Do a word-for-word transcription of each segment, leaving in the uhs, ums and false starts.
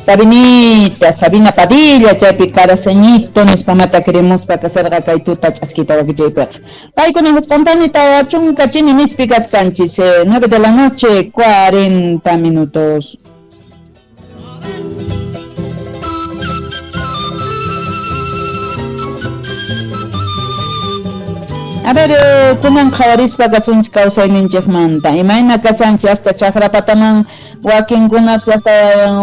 Sabinita, Sabina Padilla, chaypi Caraseñito, nispamata queremos kasarqa kay tuta ch'askita wakichaypiqa. Paykuna husqampani tawa chunka chini nispi kaskanchis, eh, nueve de la noche, cuarenta minutos. A ver, eh, kunan qhawarispa kasunchik kawsayninchikmanta, imayna kasanchik hasta chakrapataman wakinkunapas hasta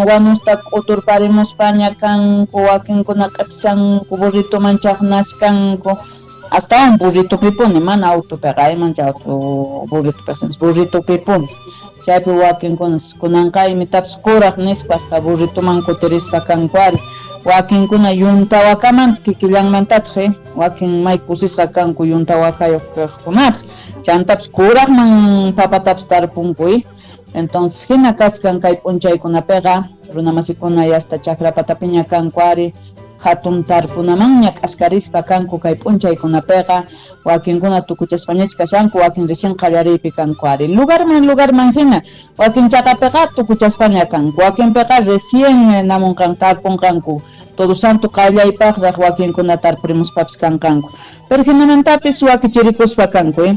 wanusta k'uturparimuspaña kanku, wakinkuna q'ipsanku, burrituman chaqnaskanku, astawan burritupipuni, mana autopiqa, imancha auto burritupiqa, burritupipuni. Chaypi wakinkunas kunanqa imitapas kuraq nispa hasta burrituman kutirispa kanku ari. Wakinkuna yuntawakamanta kikillanmantataq, eh? Wakin may kusisqa kanku yuntawakayuq kaqkunapas, chantapas kuraqman papatapas tarpunku, eh? Entonces hina kaskan kay p'unchaykunapiqa runamasikuna hasta chakrapatapiña kanku ari, hatun tarpunamanña k'askarispa kanku kay p'unchaykunapiqa, wakinkuna tukuchaspañach kashanku, wakin recién qallariypi kanku ari, lugarman lugarman hina, wakin chaqapiqa tukuchaspaña kanku, wakinpiqa recién namunqan tarpunqanku, Todo Santo qallaypaqraq wakinkuna tarpurimuspapas kanqanku, pero hinamantapis wakichirikuspa kanku, eh?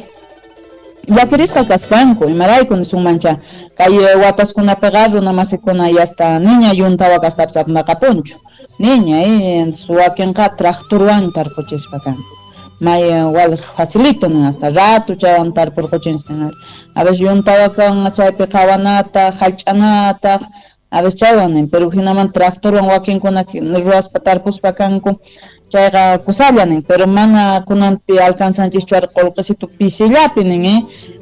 Llakirisqa kaskanku, imarayku nisunmancha kay wataskunapiqa runamasikuna hasta niña yuntawakastapas apnaqapunchu, niña, eh, wakinqa tractorwan tarpuchispa kanku, may wal facilito nin hasta rato chaywan tarpurquchinchik nin, a veces yuntawakawan chaypi qhawanataq, hallch'anataq, a veces chaywan nin, pero hinaman tractorwan wakinkuna ruwaspa tarpuspa kanku, chayqa kusalla nin, pero mana kunanpi alcanzanchikchu ari qullqisitu pisillapi nin, eh?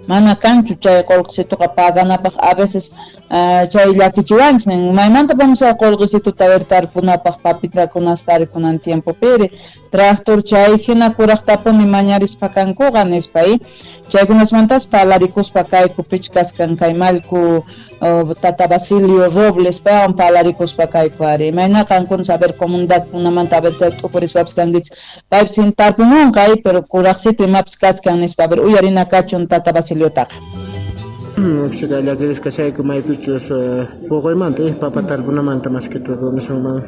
Mana kanchu chay qullqisituqa paganapaq, a veces uh, chay llakichiwanchik nin, maymanta vamos a qullqisituta ver tarpunapaq papitakunasta ari kunan tiempopiri, tractor chay hina kuraqtapuni mañarispa kankuqa nispa, eh? Chaykunasmantas parlarikuspa kayku pich kaskan kay mallku uh, tata Basilio Robles paywan parlarikuspa kayku ari, imayna qankuna saber comunidadkunamanta a ver chay t'ukurispapas kankichik, paypis hin tarpumunqa, eh, pero kuraqsitu imapas kaskan nispa, a ver uyarina kachun tata Basiliotaqa. Uksika llakirisqa kashayku maypichus puquymanta, eh, papa tarpunamanta más que todo nisunman.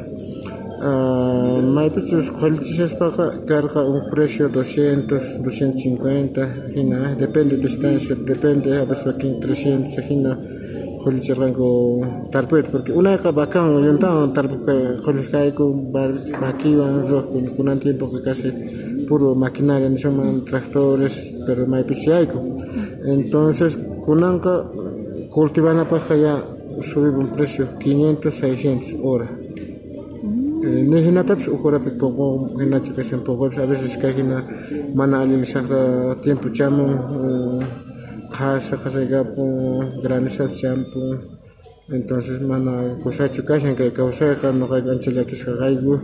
Uh, maypichus qullichishaspaqa karqa un precio doscientos, doscientos cincuenta, hina, depende distancia, depende, a veces wakin trescientos, hina qullichirqanku tarpuyta, porque unayqa vacawan yuntawan tarpuq qulliq kayku, makiwan ruwaq, kunan tiempoqa casi puro maquinaria nisunman, tractores, pero maypichus yayku. Entonces kunanqa cultivanapaqqa ya subió un precio quinientos, seiscientos hora. Eh, ni hinatapas huk horapi poqo hinachu kashan poqopas, a veces kay hina mana allin saqra tiempo chamun, qhasa qhasaykapun, granizas champun, entonces mana kusachu kashan kay kawsayqa, nuqayku ancha llakisqa kayku,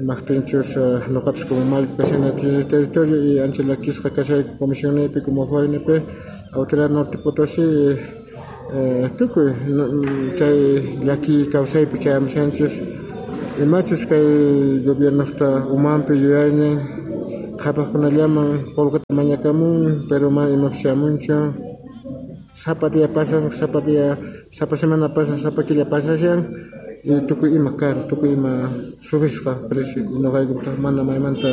imaqtinchus nuqapas como mallku kashani territorio y ancha llakisqa kashayku comisionniypi como F O N P, Autoridad Norte Potosí, eh, tukuy chay llaki kawsaypi chayamushanchis. Imachus kay gobiernoqta umanpi yuyaynin qhapaqkunallaman qullqita mañakamun, pero mana imapas chamunchu, sapa día pasan, sapa día, sapa semana pasan, sapa killa pasashan, y tukuy ima caro, tukuy ima subisqa precio, y nuqaykutaq mana maymanta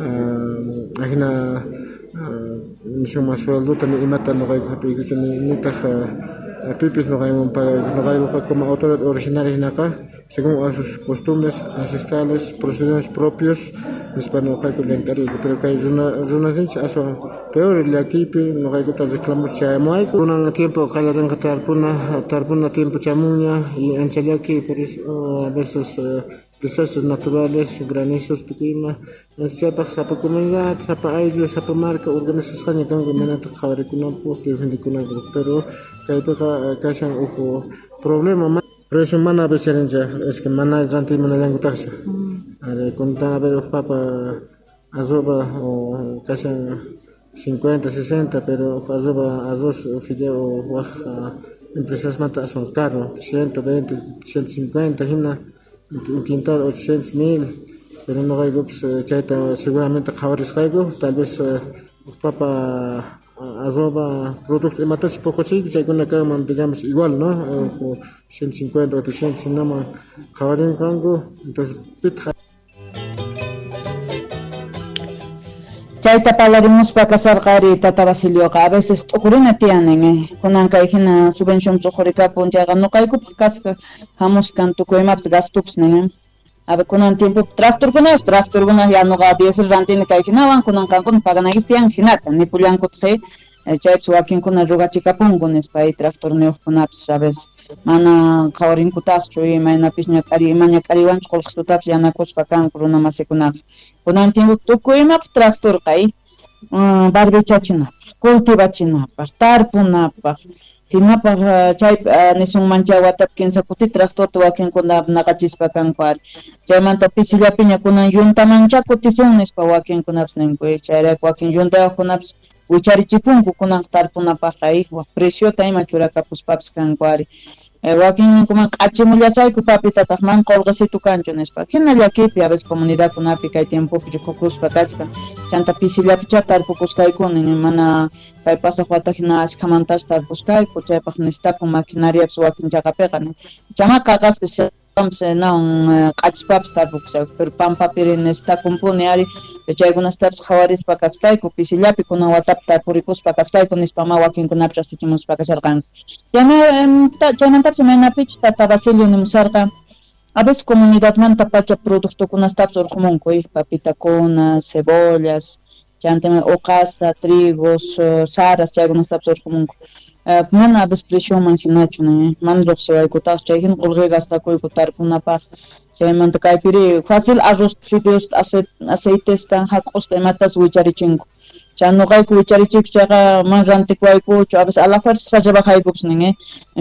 uh, ajina uh, nisunman sueldota ni imata nuqayku hap'iykuchu, ni nitaq uh, pipis nuqayman pagayku, nuqaykuqa como autoridad originaria hinaqa según a sus costumbres ancestrales, procedimientos propios, nispa nuqayku llank'ariyku, pero kay runa runasinchik aswan peor llakiypi nuqaykuta reclamo chayamuwayku. Kunan tiempo qallarinqa tarpuna, tarpuna tiempo chamunña y ancha llaki, por eso a veces uh, desastres naturales, granizos, tukuy ima, chaypaq sapa comunidad, sapa ayllu, sapa marca organizasqaña kanku imaynata qhawarikunanpaq, defendikunankupaq, pero kaypiqa kashan huk problema. Precio mana becharincha, es que mana ranti manallankutaqcha. A ver, kuntan a ver papa arroba o casi cincuenta, sesenta, pero arroba arroz o fideo waj empresas mata son caro, ciento veinte, ciento cincuenta, hina un quintal ochocientos mil, pero no hay pues chayta seguramente qhawarisqayku, tal vez papa Arroba producto imatachus puquchiyku chaykuna kanman, digamos, igual, ¿no? ciento cincuenta o trescientos hinaman qhawarinqanku, entonces pitaq. Chayta parlarimuspa kasarqa ari tata Basilioqa, a veces t'uqurina tiyanin, eh. Kunan kay hina subvención t'uqurikapun chayqa nuqaykupaq kasqa hamuskan tukuy imapis gastupis nin. A ver, kunan tiempo tractorkunayuq, tractorkuna ya nuqa diésel rantini kay hinawan, kunan qankuna paganaykichis tiyan hinata, nipullankutaq, chaypis wakinkuna rugachikapunku nispa, ay tractorniyuqkunapis a veces mana qhawarinkutaqchu, imaynapis ñak'ari, ima ñak'ariwanchu qullqisutapis yanakuspa kanku runa masikunaqa. Kunan tiempo tukuy imapaq tractorqa, ay barbichachinapaq, cultivachinapaq, tarpunapaq, hinapaq chay nisunmancha watapi kinsa kuti tractorta wakinkuna naqachispa kanku ari. Chaymanta pisillapiña kunan yuntamancha kutisun nispa wakinkunapis ninku, chayrayku wakin yuntayuqkunapis wicharichipunku kunan tarpunapaqqa, preciota ima churakapuspapis kanku ari. Wakin ninkuman q'achimullasayku papitataq man qullqisitu kanchu nispa. Hina llakipi a veces comunidadkunapi kay tiempopi rikukuspa kachkan. Chanta pisillapicha tarpukuskaykuni, mana kay pasaq wata hina ashkhamantachu tarpuskayku, chaypaq necesitakun maquinariapis wakin chaqapiqa. Chama qaqaspis nawan q'achispapis tarpukushayku, pero pampapiri necesitakunpuni ari, chaykunastapis qhawarispa kaskayku, pisillapi kunan watapi tarpurikuspa kaskayku nispa ma wakinkunapis raqsichimuspa kasharqanku. Chaymantapis imaynapichu tata Basilio nimusarqa, a veces comunidadmanta pacha productokunastapis urqumunku, papitakuna, cebollas, chanta uqasta, trigos, saras, chaykunastapis urqumunku. Mana a veces presioman hinachu, mana riqsiwaykutaq, chay hina qullqi gastakuyku tarpunapaq. Chaymanta kaypiri fácil arroz, fideos, aceitesta, hak'usta imatas wicharichinku. Chay nuqayku wicharichiyku chayqa mana rantikuwaykuchu, a veces a la fuerza rebajaykupis nin,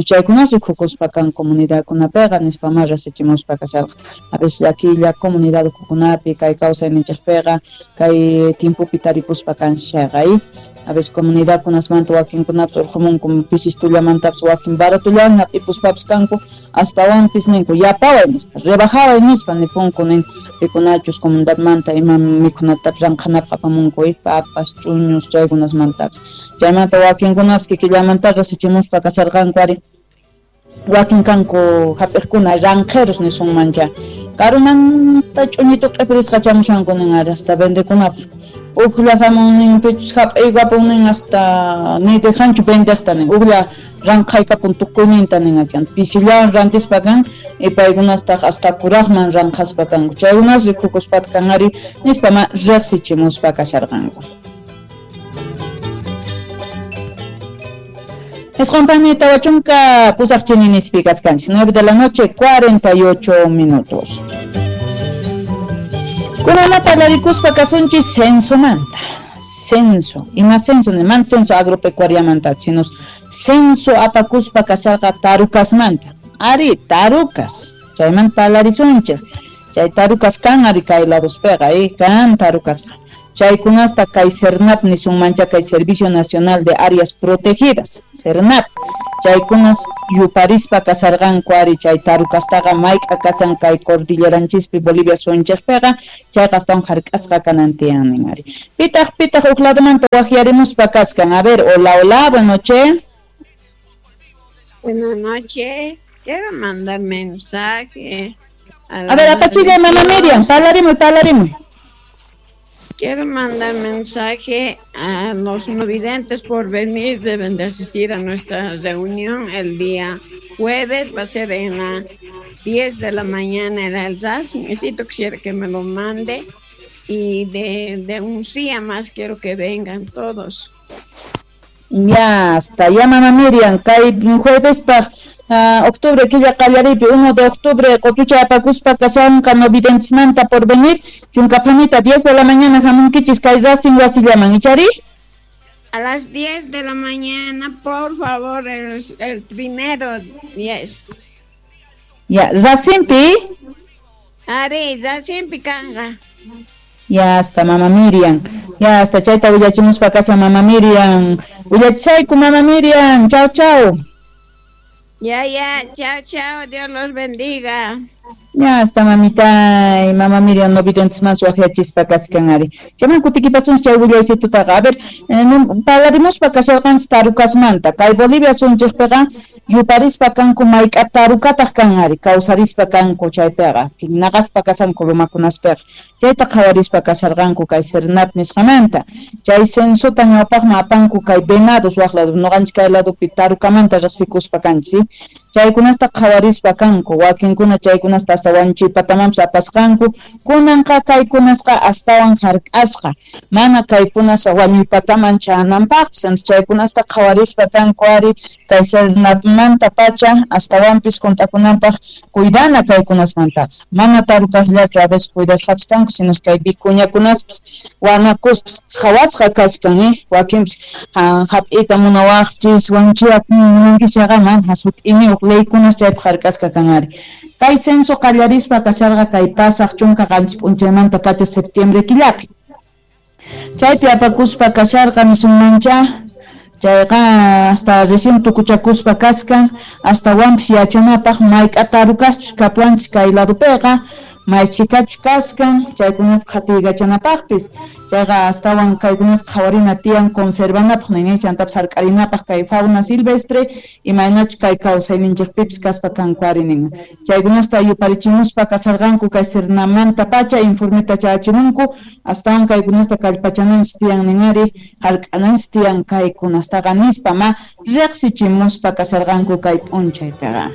chaykunas rikukuspa kan comunidadkunapiqa nispa ma rasichimuspa kasharqa. A veces llakilla comunidad ukukunapi kay kawsayninchikpiqa kay tiempopi tarikuspa kanchis chayqa, a veces comunidadkunasmanta wakinkunapis urqumunku pisistullamantapis wakin baratullawan hap'ipuspapis kanku, astawanpis ninku yapaway nispa, rebajaway nispa nipunku nin pikunachus comunidadmanta ima mikhunatapis ranqhanapaq apamunku, papas, ch'uñus, chaykunasmantapis. Chaymanta wakinkunapis kikillamanta rasichimuspa kasharqanku ari, wakin kanku hap'iqkuna ranqheros nisunmancha, karumanta ch'uñitu q'ipirisqa chamushanku nin ari hasta vendekunapaq. Ujlla hamun pichus hap'iykapun nin hasta ni dejanchu vendeqta nin, ujlla ranqhaykapun tukuyninta nin achan, pisillawan rantispa kan y paykunastaq hasta kuraqman ranqhaspa kanku, chaykunas rikukuspata kan ari nispa ma riqsichimuspa kasharqanku. Isqunpani tawa chunka pusaq chininispi kaskanchis, nueve de la noche, cuarenta y ocho minutos. Kunama parlarikuspa kasunchis censomanta. Censo, ima censo, man censo agropecuariamanta, sino censo apakuspa kasharqa tarukasmanta. Ari, tarukas, chayman parlarisunchik. Chay tarukas kan ari kay ladospeqa, eh, kan tarukasqa. Chaykunasta kay SERNAP nisunmancha kay Servicio Nacional de Áreas Protegidas, SERNAP. Chaykunas yuparispa kasarqanku ari chay tarukastaqa mayk'a kasan kay cordilleranchispi Bolivia suyunchikpiqa, chayqa astawan hark'asqa kanan tiyan nin ari. Pitaq pitaq huk ladomanta waqyarimuspa kaskan. A ver, hola, hola, buenas noches. Buenas noches, quiero mandar mensaje. A, a ver, apachilla, mamá Miriam, parlarimuy, parlarimuy. Quiero mandar mensaje a los no videntes por venir, deben de asistir a nuestra reunión el día jueves, va a ser en las diez de la mañana en el R A S. Necesito, quisiera que me lo mande y de, de un día más quiero que vengan todos. Ya está, ya mamá Miriam, kay jueves pa uh, octubre killa qallariypi uno de octubre qutucha apakuspa kashanqa no videntesmanta por venir, chunka pumita diez de la mañana hamunkichis kay Racing wasillaman, ichari? A las diez de la mañana, por favor, el, el primero diez. Ya, Racingpi? Ari, Racingpi kanqa. Ya está, mamá Miriam. Ya está, chayta willachimuspa casa mamá Miriam. Willachayku mamá Miriam. Chao, chao. Ya, ya, chao, chao. Dios los bendiga. Ya hasta mamita y mamá Miriam no videntes más waqyachispa kachkan ari. Chayman kutikipasun chay willaysitutaqa. A ver, eh, parlarimuspa kasharqanchik tarukasmanta. Kay Bolivia sunchikpiqa yuparispa kanku mayk'a tarukataq kan ari, kawsarispa kanku chaypiqa, naqaspa kasanku lumakunaspiqa. Chayta qhawarispa kasharqanku kay SERNAP nisqamanta. Chay censota ñawpaqman apanku kay venados waq lado, nuqanchik kay ladopi tarukamanta riqsikuspa kanchik. Chaykunasta qhawarispa kanku, wakinkuna chaykunasta hasta wañuchiypatamanpas apasqanku, kunanqa kaykunasqa astawan hark'asqa, mana kaykunas wañuypataman chananpaqpis, chaykunasta qhawarispa kanku ari kay SERNAPmanta pacha astawanpis hunt'akunanpaq cuidana kaykunasmantaqa, mana tarukasllachu a veces cuidasqapis kanku, sino kay vicuñakunaspis wanakuspis qhawasqa kachkan, eh, wakinpis hap'iyta munawaqchis wañuchiyaq munankichaqa mana hasut'iniyuq leykunas chaypaq hark'asqa kan ari. Kay censo qallarispa kasharqa kay pasaq chunka qanchis p'unchaymanta pacha septiembre killapi. Chaypi apakuspa kasharqa nisunmancha, chayqa hasta recién tukuchakuspa kaskan, astawanpis yachanapaq mayk'a tarukachus kapuanchis kay ladopiqa, may chikachus kaskan, chaykunasqa qhatiykachanapaqpis, chayqa astawan kaykunasqa qhawarina tiyan conservanapaq nin, chantapis hark'arinapaq kay fauna silvestre imaynachus kay kawsayninchikpipis kaspa kanku ari nin. Chaykunasta yuparichimuspa kasarqanku kay SERNAManta pacha informeta chayachimunku, astawan kaykunasta kallpachananchis tiyan nin ari, hark'ananchis tiyan kaykunastaqa nispa ma riqsichimuspa kasarqanku kay p'unchaypiqa.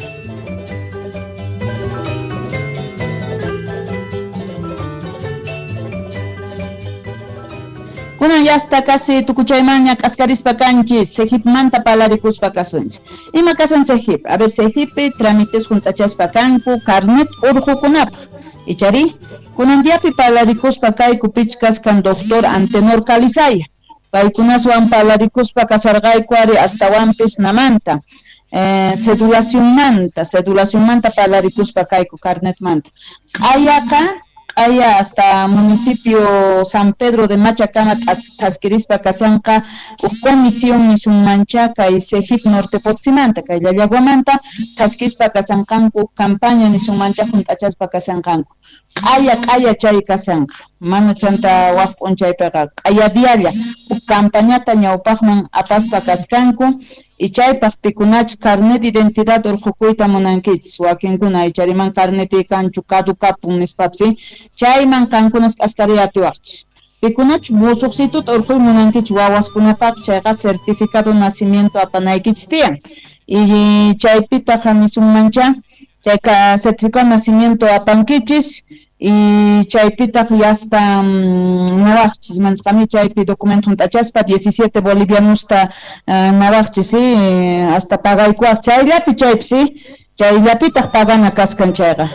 Kunan ya hasta casi tukuchaymanña k'askarispa kanchis, Cejipmanta palarikuspa kasunchis. Ima kasan Cejip? A ver, Cejippi trámites hunt'achaspa kanku carnet urqukunapaq. Ichari, kunan diapi palarikuspa kayku pich kaskan doctor Antenor Calizaya. Paykunaswan palarikuspa kasarqayku ari astawanpis namanta. Eh, cedulacionmanta, cedulacionmanta palarikuspa kayku carnetmanta. Q'ayaqa Q'aya hasta municipio San Pedro de Machacama thaskirispa kasanqa huk comisión nisunmancha kay Cejip Norte Potsimanta kay Llallaguamanta thaskispa kasanqanku campaña nisunmancha hunt'achaspa kasanqanku. Q'aya q'aya chay kasanqa, mana chanta waq p'unchaypiqa q'aya dialla huk campañata ñawpaqman apaspa kaskanku. Y chaypaq pikunachu carnet de identidad urqukuyta munankichis, wakinkuna ichariman carneti kanchu caducapun nispapis, chayman qankunas k'askariy atiwaqchis. Pikunachu musuqsituta urquy munankichis wawaskunapaq, chayqa certificado de nacimiento apanaykichis tiyan. Y chaypitaq nisunmancha, chayqa certificado de nacimiento apankichis, y chaypitaq ya hasta nawaqchis, mansqami chaypi documento hunt'achaspa diecisiete bolivianusta uh, nawaqchis, sí, hasta pagaykuwaq chayllapi chaypi, sí, chayllapitaq pagana kaskan chayqa.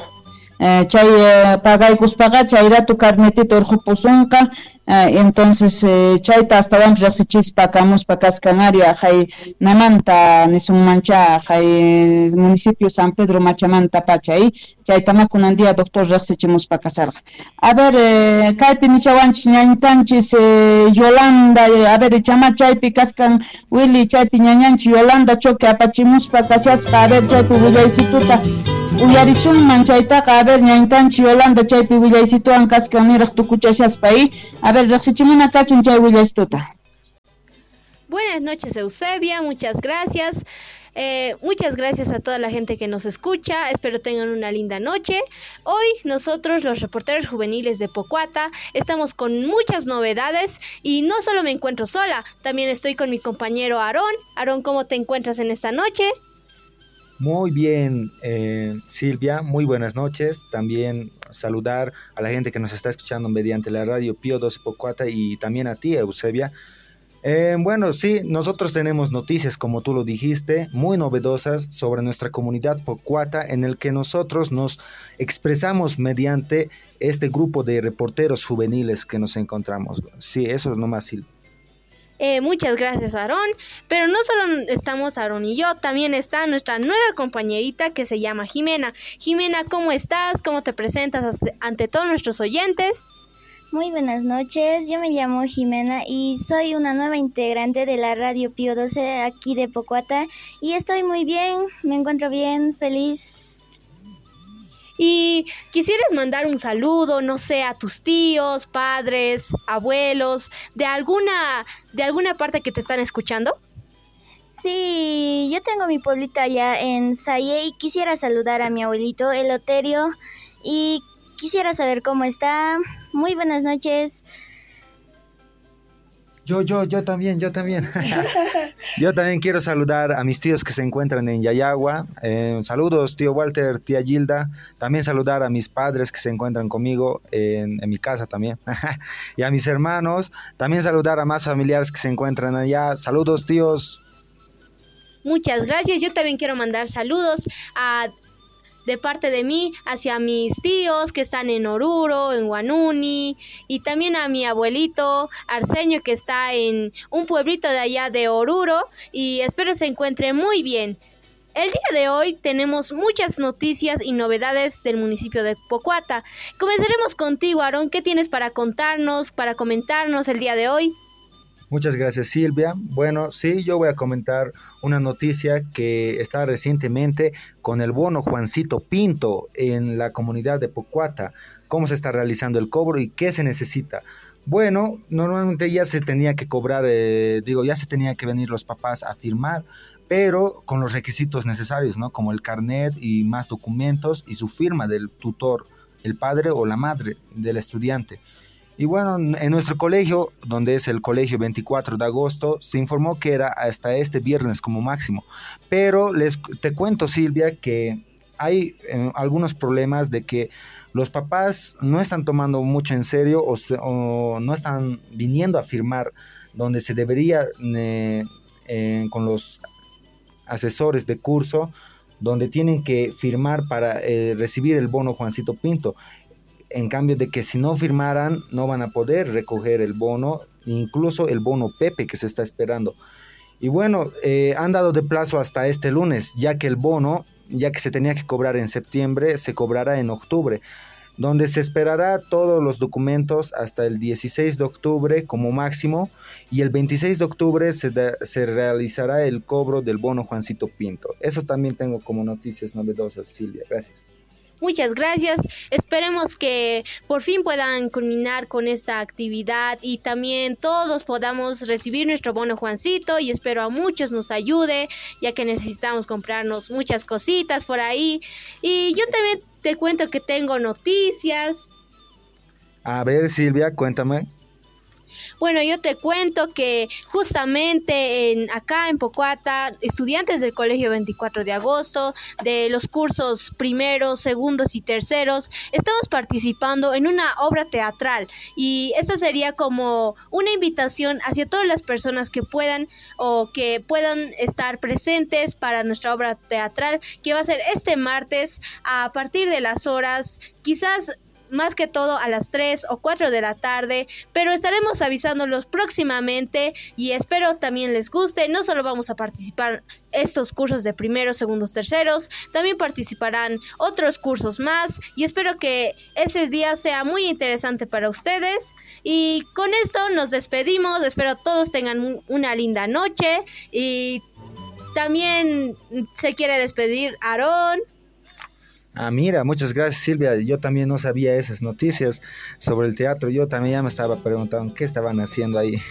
Eh, chay eh, pagaykuspaqa chayratu carnetita urqupusunqa, eh, entonces eh, chayta astawanpis riqsichispa kamuspa kaskan ari hay namanta nisunmancha hay municipio San Pedro Machamanta pacha, eh, chaytama kunan día doctor riqsichimuspa kasarqa. A ver, eh, kaypi nichawanchis ñañitanchis eh, Yolanda, eh, a ver chama chaypi kaskan Willy chaypi ñañanchis Yolanda Choque apachimuspa kashasqa, a ver chaypi willaysituta uyarisunman chaytaqa, a ver ñañitanchis Yolanda chaypi willaysituwan kaskan niraq tukuchashaspa, eh, a ver riqsichimuna kachun chay willaysituta. Buenas noches, Eusebia, muchas gracias. Eh, muchas gracias a toda la gente que nos escucha, espero tengan una linda noche. Hoy nosotros, los reporteros juveniles de Pocoata, estamos con muchas novedades y no solo me encuentro sola, también estoy con mi compañero Aarón. Aarón, ¿cómo te encuentras en esta noche? Muy bien, eh, Silvia, muy buenas noches. También saludar a la gente que nos está escuchando mediante la radio Pío doce Pocoata y también a ti, Eusebia. Eh, bueno, sí, nosotros tenemos noticias, como tú lo dijiste, muy novedosas sobre nuestra comunidad Pocoata, en el que nosotros nos expresamos mediante este grupo de reporteros juveniles que nos encontramos. Sí, eso es nomás, Silvia. Eh, muchas gracias, Aarón. Pero no solo estamos Aarón y yo, también está nuestra nueva compañerita que se llama Jimena. Jimena, ¿cómo estás? ¿Cómo te presentas ante todos nuestros oyentes? Muy buenas noches, yo me llamo Jimena y soy una nueva integrante de la radio Pío doce aquí de Pocoata y estoy muy bien, me encuentro bien, feliz. Y Y quisieras mandar un saludo, no sé, a tus tíos, padres, abuelos, de alguna, de alguna parte que te están escuchando. Sí, yo tengo mi pueblito allá en Saye y quisiera saludar a mi abuelito Eloterio y quisiera saber cómo está. Muy buenas noches. Yo, yo, yo también, yo también. Yo también quiero saludar a mis tíos que se encuentran en Yayagua. Eh, saludos, tío Walter, tía Gilda. También saludar a mis padres que se encuentran conmigo en, en mi casa también. Y a mis hermanos. También saludar a más familiares que se encuentran allá. Saludos, tíos. Muchas gracias. Yo también quiero mandar saludos a... de parte de mí hacia mis tíos que están en Oruro, en Huanuni, y también a mi abuelito Arsenio que está en un pueblito de allá de Oruro, y espero se encuentre muy bien. El día de hoy tenemos muchas noticias y novedades del municipio de Pocoata. Comenzaremos contigo, Aarón. ¿Qué tienes para contarnos, para comentarnos el día de hoy? Muchas gracias, Silvia. Bueno, sí, yo voy a comentar una noticia que está recientemente con el bono Juancito Pinto en la comunidad de Pocoata. ¿Cómo se está realizando el cobro y qué se necesita? Bueno, normalmente ya se tenía que cobrar, eh, digo, ya se tenía que venir los papás a firmar, pero con los requisitos necesarios, ¿no? Como el carnet y más documentos y su firma del tutor, el padre o la madre del estudiante. Y bueno, en nuestro colegio, donde es el colegio veinticuatro de agosto, se informó que era hasta este viernes como máximo. Pero les te cuento, Silvia, que hay eh, algunos problemas de que los papás no están tomando mucho en serio o, se, o no están viniendo a firmar donde se debería eh, eh, con los asesores de curso, donde tienen que firmar para eh, recibir el bono Juancito Pinto. En cambio de que si no firmaran, no van a poder recoger el bono, incluso el bono Pepe que se está esperando. Y bueno, eh, han dado de plazo hasta este lunes, ya que el bono, ya que se tenía que cobrar en septiembre, se cobrará en octubre, donde se esperará todos los documentos hasta el dieciséis de octubre como máximo, y el veintiséis de octubre se, de, se realizará el cobro del bono Juancito Pinto. Eso también tengo como noticias novedosas, Silvia. Gracias. Muchas gracias. Esperemos que por fin puedan culminar con esta actividad y también todos podamos recibir nuestro bono Juancito, y espero a muchos nos ayude, ya que necesitamos comprarnos muchas cositas por ahí. Y yo también te cuento que tengo noticias. A ver, Silvia, cuéntame. Bueno, yo te cuento que justamente en, acá en Pocoata, estudiantes del Colegio veinticuatro de agosto, de los cursos primeros, segundos y terceros, estamos participando en una obra teatral, y esta sería como una invitación hacia todas las personas que puedan o que puedan estar presentes para nuestra obra teatral, que va a ser este martes a partir de las horas, quizás más que todo a las tres o cuatro de la tarde, pero estaremos avisándolos próximamente y espero también les guste. No solo vamos a participar estos cursos de primeros, segundos, terceros, también participarán otros cursos más, y espero que ese día sea muy interesante para ustedes. Y con esto nos despedimos, espero todos tengan una linda noche, y también se quiere despedir Aarón. Ah, mira, muchas gracias, Silvia. Yo también no sabía esas noticias sobre el teatro. Yo también ya me estaba preguntando qué estaban haciendo ahí.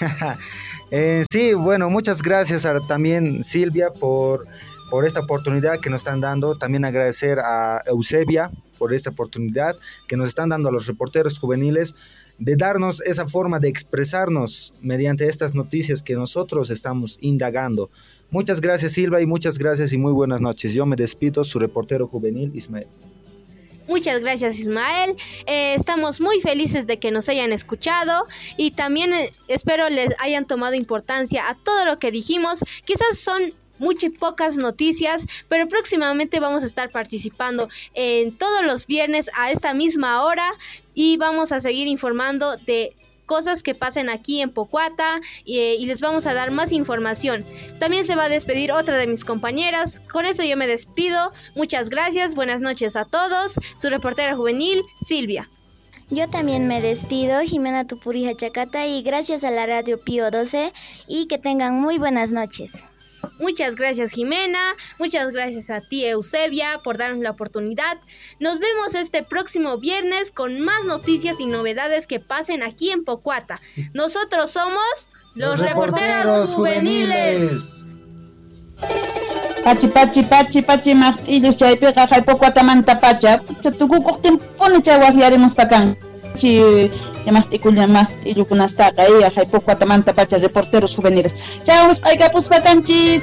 eh, sí, bueno, muchas gracias a, también, Silvia, por, por esta oportunidad que nos están dando. También agradecer a Eusebia por esta oportunidad que nos están dando a los reporteros juveniles de darnos esa forma de expresarnos mediante estas noticias que nosotros estamos indagando. Muchas gracias, Silvia, y muchas gracias y muy buenas noches. Yo me despido, su reportero juvenil, Ismael. Muchas gracias, Ismael. Eh, estamos muy felices de que nos hayan escuchado y también eh, espero les hayan tomado importancia a todo lo que dijimos. Quizás son muchas pocas noticias, pero próximamente vamos a estar participando en todos los viernes a esta misma hora y vamos a seguir informando de cosas que pasen aquí en Pocoata y, y les vamos a dar más información. También se va a despedir otra de mis compañeras. Con eso yo me despido. Muchas gracias, buenas noches a todos. Su reportera juvenil, Silvia. Yo también me despido, Jimena Tupurija Chacata, y gracias a la radio Pío doce, y que tengan muy buenas noches. Muchas gracias, Jimena, muchas gracias a ti, Eusebia, por darnos la oportunidad. Nos vemos este próximo viernes con más noticias y novedades que pasen aquí en Pocoata. Nosotros somos los, los reporteros, reporteros juveniles. Pachi pachi pachi pachi maqt'illus chaypiqa hay Pocoatamanta pacha tukukuqtinpuni chay waqyarimuspa kan chi maqt'ikulla maqt'illukunastaqa hay Pocoatamanta pacha reporteros juveniles. Chau, wisq'aykapuspa kanchis.